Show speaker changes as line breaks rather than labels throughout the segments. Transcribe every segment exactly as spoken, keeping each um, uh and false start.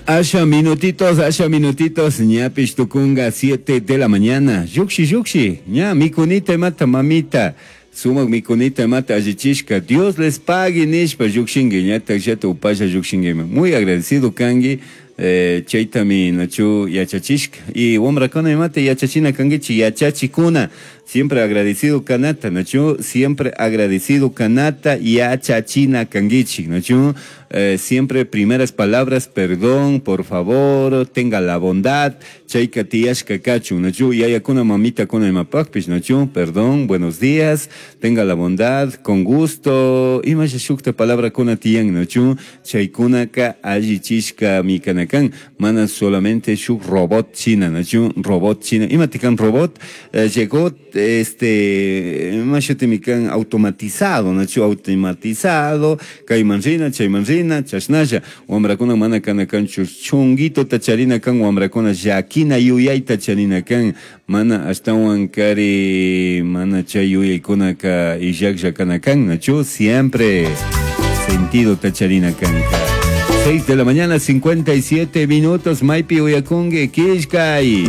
Asha minutitos, asha minutitos, ñapish tucunga siete de la mañana. Llukshi, llukshi, ña mikunita imata mamita. Sumak mikunita imata allichishka. Dios les pague nishpa llukshinki, ñatak llata upalla llukshinkiman. Muy agradecido kanki. Eh, chaytami nachu yachachishka. Y wamrakuna imata yachachina kankichik yachachikuna. Siempre agradecido kanata, nachu siempre agradecido kanata yachachina kankichik, nachu eh, siempre primeras palabras, perdón, por favor, tenga la bondad, chayka tiyashka kachun, nachu yayakuna mamitakuna imapakpish, nachu, perdón, buenos días, tenga la bondad, con gusto, imasha shukta palabrakuna tiyan, nachu, chaykunaka allichishka mikanakan, mana solamente shuk robot china, nachu, robot china, imatikan robot, eh, llegó este mashuti automatizado, nachu automatizado, kayman rina, chayman rina, chashnalla, wamrakuna mana kana kanchu chunguito charina kan wamrakuna llakina yuyayta charina kan, mana ashtawan kari mana chay yuyaykunaka illaklla kana kan, nachu siempre sentido tacharina kanka. seis de la mañana, cincuenta y siete minutos, maypi uyakunki, killkay.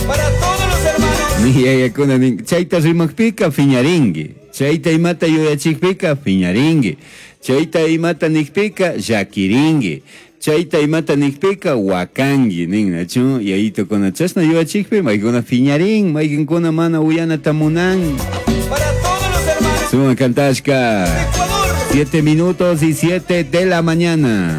Para todos los hermanos.
Yayakuna nin, chayta rimakpika fiñarinki, chayta imata yuyachikpika fiñarinki, chayta imata nikpika llakirinki, chayta imata nikpika wakanki nin, nachu yayitukuna chashna yuyachikpi maykuna fiñarin, maykinkuna mana uyanata munan.
Para todos los hermanos.
Suma kantashka.
Ecuador.
Siete minutos y siete de la mañana.